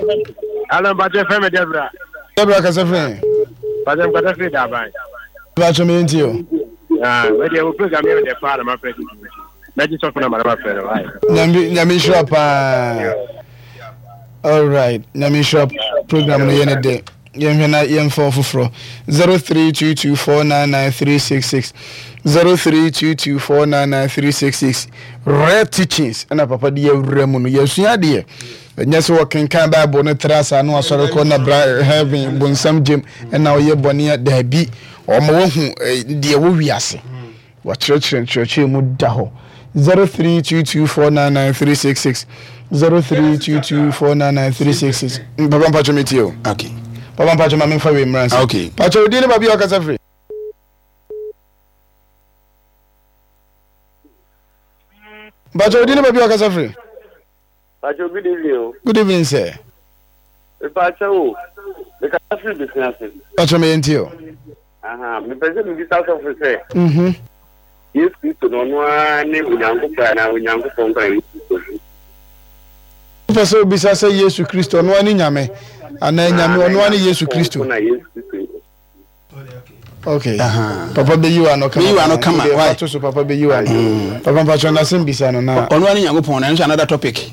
[SPEAKER 4] Alo, mpakyɛ, fɛ me Debra.
[SPEAKER 2] Debra, kasa firi?
[SPEAKER 4] Mpakyɛ, mkasa firi Daban.
[SPEAKER 2] Pakyɛw, meyɛntie o.
[SPEAKER 4] Ah, wei wo program yɛ de paa na ma frɛ tutu. Mɛgye sɔfo na ma na ma frɛ no. Aye.
[SPEAKER 2] Nyame Nyame nhyira paa. Alright, Nyame nhyira, program no yɛ ne dɛ. Yɛnhwɛ na yɛmfa ɔfoforɔ zero three two two four nine nine three six six zero three two two four nine nine three six six. Rare teachings ɛna papa de yɛwura mu no, yɛsua adeɛ. Ɛnyɛ sɛ wɔkenkan Bible no tra saa na wasɔre kɔ na bra heaven bonsam gyem ɛna ɔyɛ bɔne a. Daabi, ɔma wahu eh, deɛ wɔ wiase. Wakyerɛkyerɛ nkyerɛkyerɛ mu da hɔ. zero three two two four nine nine three six six zero three two two four nine nine three six six. Papa, mpakyɛ, mi tie o.
[SPEAKER 1] Okay.
[SPEAKER 2] Papa, mpakyɛ, ma memfa wei mmra nsa.
[SPEAKER 1] Okay.
[SPEAKER 2] Mpakyɛ, odi ne baabi a ɔkasa firi? Mpakyɛ, odi ne baabi a ɔkasa firi?
[SPEAKER 5] Pacho, good evening o.
[SPEAKER 2] Good evening, sir.
[SPEAKER 5] Mepakyɛ o, mekasa firi Besia ase.
[SPEAKER 2] Mpakyɛ, meyɛ ntie o.
[SPEAKER 5] Aha, mepɛ sɛ mebisa sɔfo sɛ,
[SPEAKER 2] Mhm.
[SPEAKER 5] Yesu Kristo no, ɔno ara ne Onyankopɔn anaa Onyankopɔn nkwa na Yesu Kristo?
[SPEAKER 2] Wopɛ sɛ obisa sɛ Yesu Kristo ɔno ara ne Nyame anaa Nyame ɔno ara ne Yesu Kristo?
[SPEAKER 5] Nko na Yesu Kristo.
[SPEAKER 2] Okay, papa bɛyi wa no kama.
[SPEAKER 1] Bɛyi wa no kama.
[SPEAKER 2] Wode
[SPEAKER 1] why?
[SPEAKER 2] fa to so, papa bɛyi wa no. Papa, mpakyɛ, n'asɛm bisa no na.
[SPEAKER 1] Ɔno ara ne Nyankopɔn no, ɛno nso another topic.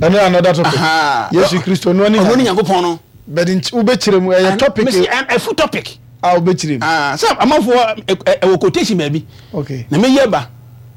[SPEAKER 2] Ɛno another topic.
[SPEAKER 1] Aha.
[SPEAKER 2] Yesu Kristo ɔno ara ne
[SPEAKER 1] Ɔno ne
[SPEAKER 2] Nyame.
[SPEAKER 1] Nyankopɔn no.
[SPEAKER 2] But nti wobɛkyerɛ mu, ɛyɛ topic.
[SPEAKER 1] Mesi ɛfu topic.
[SPEAKER 2] A wobɛkyerɛ mu.
[SPEAKER 1] Ah, sɛ amanfoɔ ɛwɔ quotation baabi.
[SPEAKER 2] Okay.
[SPEAKER 1] Na meyi aba.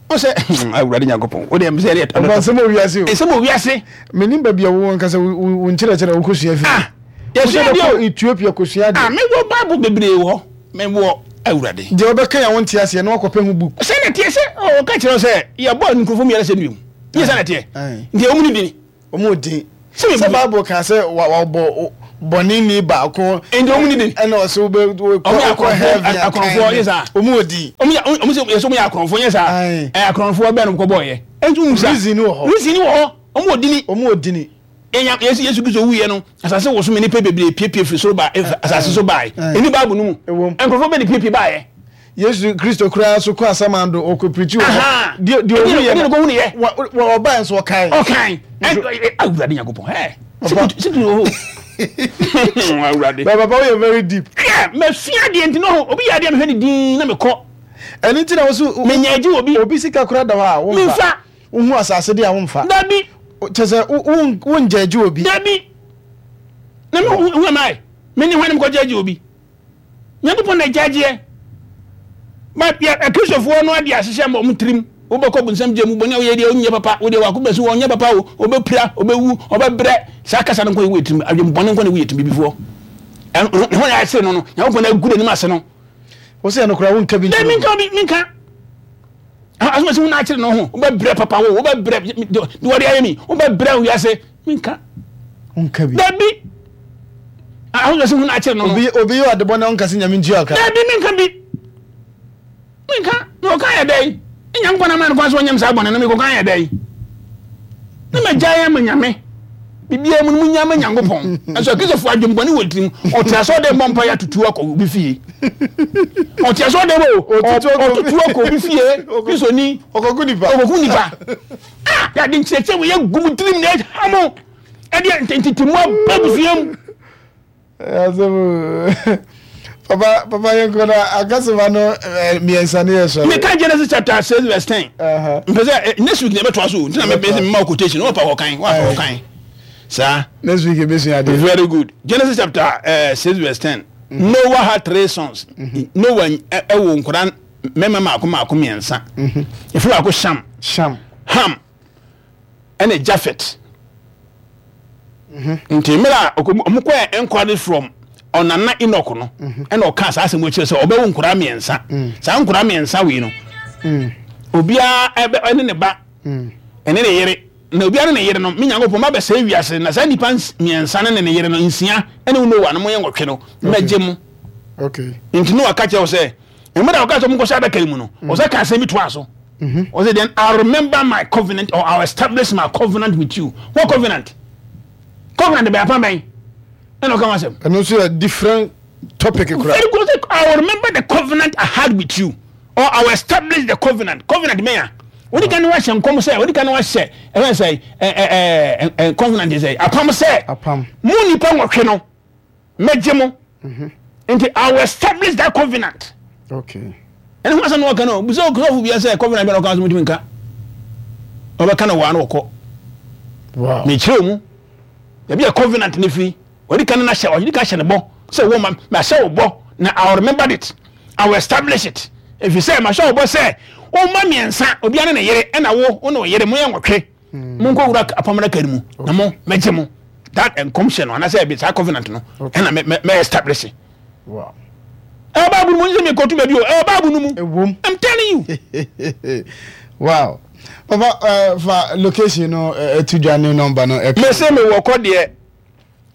[SPEAKER 1] Wo sɛ Awurade Nyankopɔn. Wo deɛ mesɛ ɛyɛ
[SPEAKER 2] Ɔba, nsɛm wɔ wiase o.
[SPEAKER 1] Nsɛm wɔ wiase.
[SPEAKER 2] Menim baabi a wowɔ nkasa, wo nkyerɛkyerɛ wokɔsua firi.
[SPEAKER 1] Ah, yɛsua adeɛ o.
[SPEAKER 2] Ethiopia kɔsua adeɛ.
[SPEAKER 1] Ah, mewɔ Bible bebree wɔ hɔ. Mewɔ Awurade.
[SPEAKER 2] Deɛ wobɛka yɛ wonte aseɛ na wakɔpɛ ho book.
[SPEAKER 1] Sɛ na teɛ sɛ ɔka kyerɛ wo sɛ yɛbɔ nkurɔfoɔ mmiɛnsa sɛ nnuam. Nyɛ sɛ na teɛ. Nti ɔmu ne dini.
[SPEAKER 2] Ɔmu din.
[SPEAKER 1] Sɛ
[SPEAKER 2] sɛ Bible ka sɛ wabɔ Bɔne ni baako.
[SPEAKER 1] Nti ɔmo ni din.
[SPEAKER 2] Ɛna ɔsɛ wobɛ
[SPEAKER 1] Ɔmo yɛ
[SPEAKER 2] wokɔ heaven.
[SPEAKER 1] akorɔmfoɔ, akorɔmfoɔ yɛ saa.
[SPEAKER 2] Ɔmo wɔ din.
[SPEAKER 1] Ɔmo yɛ, ɔmo sɛ yɛsɛ ɔmo yɛ akorɔmfoɔ nyɛ saa.
[SPEAKER 2] Aye.
[SPEAKER 1] Ɛyɛ akorɔmfoɔ bɛn no kɔ bɔɔyɛ. Ɛnti ɔmo sa.
[SPEAKER 2] Reason wɔ hɔ.
[SPEAKER 1] Reason wɔ hɔ. Ɔmo wɔ dini.
[SPEAKER 2] Ɔmo wɔ dini.
[SPEAKER 1] Yɛnya Yesu Yesu Kristo wuyɛ no, asase wɔ so ma nipa bebree piepie firi soro ba efa asase so bae. Ɛni Bible no mu.
[SPEAKER 2] Ɛwom.
[SPEAKER 1] Nkurɔfoɔ bɛ ne piepie baeɛ.
[SPEAKER 2] Yesu Kristo koraa so kɔ asamando ɔkɔ pirikyi wɔ hɔ.
[SPEAKER 1] Aha.
[SPEAKER 2] Deɛ deɛ
[SPEAKER 1] Ɛdeɛ
[SPEAKER 2] ɔhu yɛ
[SPEAKER 1] ɛdeɛ na ɔkɔhu yɛ.
[SPEAKER 2] wa wa ɔbaa nso ɔkae.
[SPEAKER 1] Ɔkan. Ɛ Awurade Nyankopɔn. Ɛ
[SPEAKER 2] Papa.
[SPEAKER 1] situ wɔ hɔ. Awurade.
[SPEAKER 2] But papa woyɛ very deep.
[SPEAKER 1] Hwɛ, masua adeɛ nti no, obi yɛ adeɛ mehwɛ ne din na mekɔ.
[SPEAKER 2] Ɛno nti na wo so
[SPEAKER 1] Menya agye wɔ bi.
[SPEAKER 2] Obi sika koraa da hɔ a womfa.
[SPEAKER 1] Memfa.
[SPEAKER 2] Wohu asase de a womfa.
[SPEAKER 1] Dabi.
[SPEAKER 2] Kyɛ sɛ wo- wo- wongya agye obi.
[SPEAKER 1] Dabi. Na me who am I? Me ne hwan na mekɔgye agye obi? Nyankopɔn na ɛgyagyeɛ. But yɛ Akristofoɔ no ade ahyehyɛ ma wɔn tirim. Wobɛkɔ bonsam gya mu, bɔne a woyɛ deɛ wonyɛ papa, wodeɛ wako bɛsi wɔ ɔnyɛ papa o, ɔbɛpira, ɔbɛwu, ɔbɛbrɛ. Saa kasa no nkɔ yɛ wɔ tirim, adwembɔne nkɔ na ɛwɔ yɛ tirim bibifoɔ. Ɛno ne ho na ayɛ no no, Nyankopɔn na agu n'anim ase no.
[SPEAKER 2] Wo sɛ ɛno koraa wonka bi
[SPEAKER 1] Dɛ
[SPEAKER 2] nkyerɛ
[SPEAKER 1] menka
[SPEAKER 2] obi.
[SPEAKER 1] obi, menka. Asoma sɛ wo na akyere no ho, wobɛbrɛ papa wo, wobɛbrɛ deɛ wɔde ayɛ mi, wobɛbrɛ wiase, menka.
[SPEAKER 2] Wonka bi.
[SPEAKER 1] Dabi. Asoma sɛ wo na akyere no no.
[SPEAKER 2] Obi obi yɛ ɔdebɔ na ɔnka sɛ Nyame ntua ɔka.
[SPEAKER 1] Dabi, menka bi. Menka. Na ɔka yɛ dɛn? Nyankopɔn ama no kwan sɛ ɔnyam saa bɔne no, mekɔka yɛ dɛn? Na magyae ama Nyame. Biribiara mu no munya ama Nyankopɔn. Ɛnso Akristofoɔ adwembɔne wɔ tirim. Ɔte asɔre dɛm bɔ mpaeɛ atutu akɔ obi fie. Ɔte asɔre dɛm o,
[SPEAKER 2] Ɔtutu akɔ obi-
[SPEAKER 1] ɔtutu akɔ obi fie. Kristoni.
[SPEAKER 2] Ɔkɔku nipa.
[SPEAKER 1] Ɔkɔku nipa. Ah, yɛde nkyerɛkyerɛ wɔ yɛ gu mu tirim na ɛha mo. Ɛdeɛ ntɛntɛtɛmu aba abusua mu.
[SPEAKER 2] Asɛm papa papa yɛn kɔ na akasema no eh, mmiɛnsa ne yɛ sɔrɔ.
[SPEAKER 1] Meka Genesis chapter six verse ten.
[SPEAKER 2] Aha.
[SPEAKER 1] Mpɛ sɛ eh, next week na ɛbɛtoa so o. Nti na mɛ mɛ mma wo quotation. Wɔpa hɔ kan, wɔapa hɔ kan. Saa.
[SPEAKER 2] Next week ebesua adeɛ.
[SPEAKER 1] Very good. Genesis chapter uh, six verse ten. Noah had three sons. Noah ɛwɔ nkwadaa mmarima mmaako mmaako mmiɛnsa. Efi baako Sham,
[SPEAKER 2] Sham.
[SPEAKER 1] Ham, ɛna Japhet. Nti mmerɛ a ɔkɔ- ɔmo kɔɛ enquiry from ɔnana Enoch no, ɛna ɔka saa asɛm akyerɛ sɛ ɔbɛwo nkwadaa mmiɛnsa. Saa nkwadaa mmiɛnsa wei no, obiara ɛbɛ ɛne ne ba, ɛne ne yere. Na obiara ne ne yere no, me Nyankopɔn ma bɛsɛe wiase na saa nnipa ns- mmiɛnsa ne ne ne yere no nsia ɛne wo Noah no mo yɛ nwɔtwe no mɛgye mo.
[SPEAKER 2] Okay.
[SPEAKER 1] Nti Noah ka kyerɛ wo sɛ mmerɛ a ɔka sɛ monkɔhyɛ adaka yi mu no, ɔsɛ ka asɛm bi toa so. Ɔsɛ then I remember my covenant or I will establish my covenant with you. What covenant? Covenant bɛyɛ apam bɛn? Ɛna ɔka ho asɛm.
[SPEAKER 2] Ɛno nso yɛ different topic koraa.
[SPEAKER 1] Very good. Ɔsɛ, I will remember the covenant I had with you or I will establish the covenant. Covenant bɛn a? Wodi kan wahyɛ nkɔm sɛ, wodi kan wahyɛ ɛfɛn sɛ ɛ ɛ ɛ covenant sɛ apam sɛ.
[SPEAKER 2] Apam.
[SPEAKER 1] Mo nipa nwɔtwe no mɛgye mo. Nti I will establish that covenant.
[SPEAKER 2] Okay.
[SPEAKER 1] Ɛne ho asɛm na wɔka no, bisa ɔsɔfo bia sɛ covenant bɛ na ɔka so mutumi nka. Ɔbɛka no waa na wɔkɔ.
[SPEAKER 2] Wow.
[SPEAKER 1] Mekyerɛ mu. Baabi a covenant ne firi, wɔde kan na hyɛ, wɔde kan hyɛ ne bɔ sɛ wɔ ma mahyɛ wo bɔ na I will remember it. I will establish it. Ɛfiri sɛ mahyɛ wo bɔ sɛ womma mmiɛnsa, obiara ne ne yere, ɛna wo wo ne wo yere moyɛ nwɔtwe. Monkɔ wura apam adaka no mu na mo mɛgye mo. That nkɔmhyɛ no anaasɛ ɛbi saa covenant no ɛna mɛ mɛ mɛ establish.
[SPEAKER 2] Wow.
[SPEAKER 1] Ɛwɔ Bible mu, n sɛ mekɔtu baabi o, ɛwɔ Bible no mu.
[SPEAKER 2] Ɛwom.
[SPEAKER 1] I'm telling you.
[SPEAKER 2] Wow. Papa uh, fa location no ɛtu dwa ne number no ɛka.
[SPEAKER 1] Mese mewɔ kɔdeɛ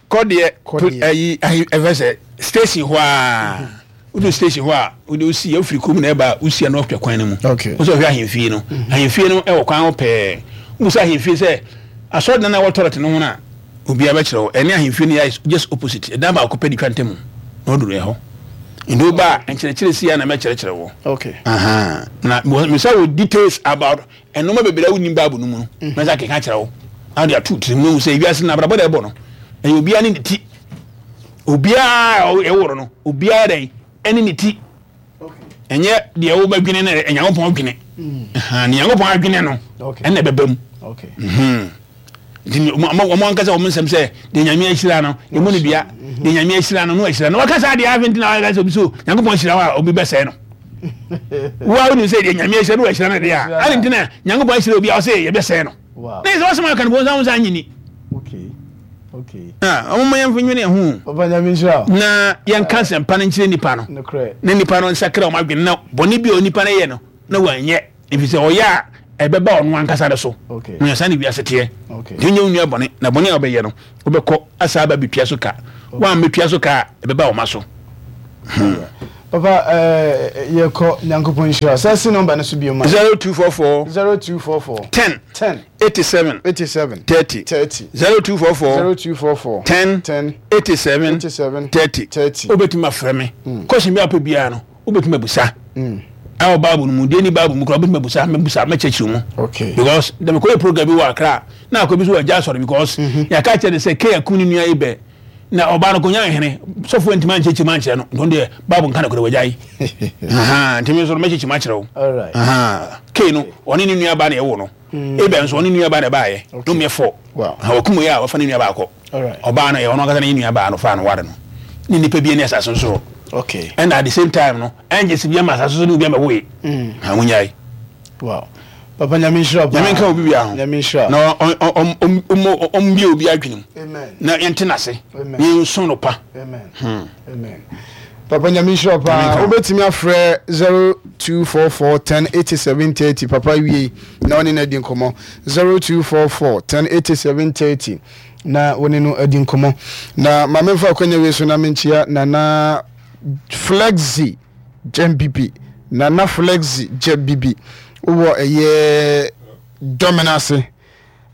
[SPEAKER 1] kɔdeɛ
[SPEAKER 2] Kɔdeɛ.
[SPEAKER 1] ɛyi ayi ɛfɛ sɛ station hɔ a wodu station hɔ a wode wosi wofiri kurom na ɛba a wosi ano ɔhwɛ kwan no mu.
[SPEAKER 2] Okay.
[SPEAKER 1] Wosɛ ɔhwɛ ahemfie no, ahemfie no ɛwɔ kwan ho pɛɛ. Wobusa ahemfie sɛ asɔredan a ɛwɔ toilet no ho no a, obiara bɛkyerɛ wo. Ɛne ahemfie no yɛ just opposite, ɛdan baako pɛ de twa ntam na ɔduru ɛhɔ. Nti woba a nkyerɛkyerɛ si a na mɛkyerɛkyerɛ wo.
[SPEAKER 2] Okay.
[SPEAKER 1] Aha. Na mesa wɔ details about ɛnoma bebree a wonim Bible no mu no, mɛsa keka kyerɛ wo na wode ato tirim na wohu sɛ wiase no abrabɔ da ɛbɔ no ɛyɛ obiara ne ne ti. Obiara a ɛworo no, obiara dɛn ɛne ne ti. Ɛnyɛ deɛ wobɛdwene no Nyankopɔn dwene. Aha, ne Nyankopɔn adwene no
[SPEAKER 2] Okay.
[SPEAKER 1] ɛna ɛbɛba mu.
[SPEAKER 2] Okay.
[SPEAKER 1] Mhm. Nti wɔn ankasa wɔn nsɛm sɛ deɛ Nyame ahyira no emu no dua, deɛ Nyame ahyira no no ahyira no. Wɔka saa deɛ afei nti na wɔka sɛ obi so Nyankopɔn ahyira wo a obi bɛsɛe no. Wo a wonim sɛ deɛ Nyame ahyira no ahyira no deɛ a, ade nti na Nyankopɔn ahyira obi a ɔsɛ yɛbɛsɛe no.
[SPEAKER 2] Wow.
[SPEAKER 1] Na yɛ sɛ wɔsɛm aka no bɔnsam wo sɛ anyini.
[SPEAKER 2] Okay. Okay.
[SPEAKER 1] Ah, wɔn yɛn nwene ho.
[SPEAKER 2] Papa Nyame nhyira wo.
[SPEAKER 1] Na yɛnka nsɛmpa no nkyerɛ nipa no.
[SPEAKER 2] Nokorɛ.
[SPEAKER 1] Na nipa no nsakra wɔn adwene na bɔne bi a onipa no yɛ no na wɔanyɛ. Ɛfiri sɛ ɔyɛ a Ɛbɛba ɔno ankasa ne so.
[SPEAKER 2] Okay.
[SPEAKER 1] Na yɛsan ne wiase teɛ.
[SPEAKER 2] Okay.
[SPEAKER 1] Nti wonyɛ wo nua bɔne, na bɔne a wobɛyɛ no, wobɛkɔ asa aba bɛtua so ka. Woammɛtua so ka a, ɛbɛba wo ma so.
[SPEAKER 2] Papa, eh, yɛkɔ. Nyankopɔn nhyira. Sɛ si number no so bio ma.
[SPEAKER 1] zero two four four
[SPEAKER 2] zero two four four
[SPEAKER 1] ten
[SPEAKER 2] ten
[SPEAKER 1] eighty seven
[SPEAKER 2] eighty seven
[SPEAKER 1] thirty
[SPEAKER 2] thirty
[SPEAKER 1] zero two four four
[SPEAKER 2] zero two four four
[SPEAKER 1] ten
[SPEAKER 2] ten
[SPEAKER 1] eighty seven
[SPEAKER 2] eighty seven
[SPEAKER 1] thirty.
[SPEAKER 2] thirty.
[SPEAKER 1] Wobɛtumi afrɛ me. Question bi a wopɛ biara no, wobɛtumi abusa. Ɛwɔ Bible no mu deɛ, ni Bible mu koraa, wobɛtumi abusa, mɛbusa, mɛkyerɛkyerɛ mu.
[SPEAKER 2] Okay.
[SPEAKER 1] Because dɛm kɔyɛ program bi wɔ Akra na akɔ bi so wɔ agya asɔre, because yɛaka kyerɛ ne sɛ Cain akum ne nua Abel, na ɔbaa no kɔnya nhene sɔfoɔ ntumi ankyerɛkyerɛ mu ankyerɛ no, nti ɔno deɛ Bible nka no korɛ, wagya yi. Nti me nso no mɛkyerɛkyerɛ mu akyerɛ wo.
[SPEAKER 2] Alright.
[SPEAKER 1] Cain no, ɔne ne nua ba na ɛwɔ no. Abel nso, ɔne ne nua ba na ɛbaayɛ no mmɛ fɔ.
[SPEAKER 2] Wow.
[SPEAKER 1] Wɔkum yɛ a wɔfa ne nua baakɔ.
[SPEAKER 2] Alright.
[SPEAKER 1] Ɔbaa no yɛ ɔno ankasa ne nua baa no fa no ware no ne nipa bi ne asase nso.
[SPEAKER 2] Okay.
[SPEAKER 1] Ɛna at the same time no, ɛngye sɛ bi ama asase so ne obi ama woe ha wonyae.
[SPEAKER 2] Wow. Papa, Nyame nhyira paa.
[SPEAKER 1] Nyame nka obi bia ho.
[SPEAKER 2] Nyame nhyira.
[SPEAKER 1] Na ɔmbie obi adwene mu
[SPEAKER 2] Amen.
[SPEAKER 1] na yɛnte n'ase
[SPEAKER 2] Amen.
[SPEAKER 1] na yɛnsom no pa.
[SPEAKER 2] Amen. Amen. Papa, Nyame nhyira
[SPEAKER 1] Nyame
[SPEAKER 2] paa.
[SPEAKER 1] nka wo.
[SPEAKER 2] Wobɛtumi afrɛ zero two four four ten eighty seven thirty. Papa wie na ɔne no adi nkɔmmɔ. zero two four four ten eighty seven thirty na wɔne no adi nkɔmmɔ. Na maame, mfa akɔnya wei so na menkyia Nana Flexi Gyambibi. Nana Flexi Gyambibi. Wowɔ ɛyɛ Dɔmena ase.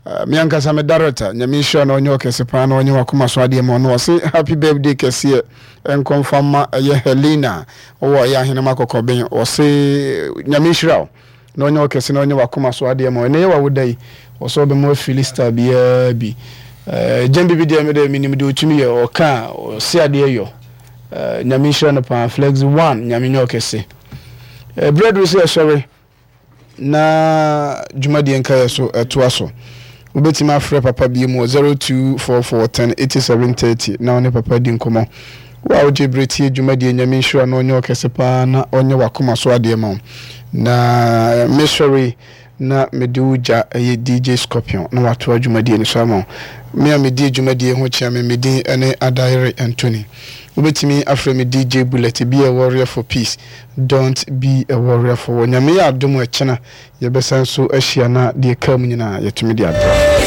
[SPEAKER 2] Uh, me ankasa me director, Nyame nhyira na ɔnyɛ ɔkɛse paa na ɔnyɛ wakoma so adeɛ ma ɔno. Ɔse happy birthday kɛseɛ nkɔmfa ma ɛyɛ Helena, ɔwɔ ɛyɛ Ahenema Kɔkɔben. Ɔse Nyame nhyira wo na ɔnyɛ ɔkɛse na ɔnyɛ wakoma so adeɛ ma ɔno. Ɛnɛ yɛ wawoda yi, ɔsɛ ɔbɛma afili star biara bi. uh, gyɛn bibi deɛ, mede menim deɛ ɔtumi yɛ, ɔka a ɔse adeɛ yɔ. uh, nyame nhyira no paa. Flex one, Nyame nyɛ ɔkɛse. uh, berɛ duru sɛ yɛsɔre na dwumadie nkaeɛ so ɛtoa so. Wobɛtumi afrɛ papa bie mu wɔ zero two four four ten eighty-seven thirty na ɔne papa di nkɔmmɔ. Wo a wogye berɛ tie dwumadie, Nyame nhyira na ɔnyɛ ɔkɛse paa na ɔnyɛ wakoma so adeɛ ma wo. Na mesɔre na mede wo gya ɛyɛ D J Scorpion na watoa dwumadie no so ama wo. Me a medi dwumadie ho kyea me, medin ne Adaire Anthony. Wobɛtumi afrɛ me D J Bullet. Be a warrior for peace, don't be a warrior for war. Nyame yɛ adom, ɛkyena yɛbɛsan so ahyia na deɛ ka mu nyinaa yɛtumi de abrɛ.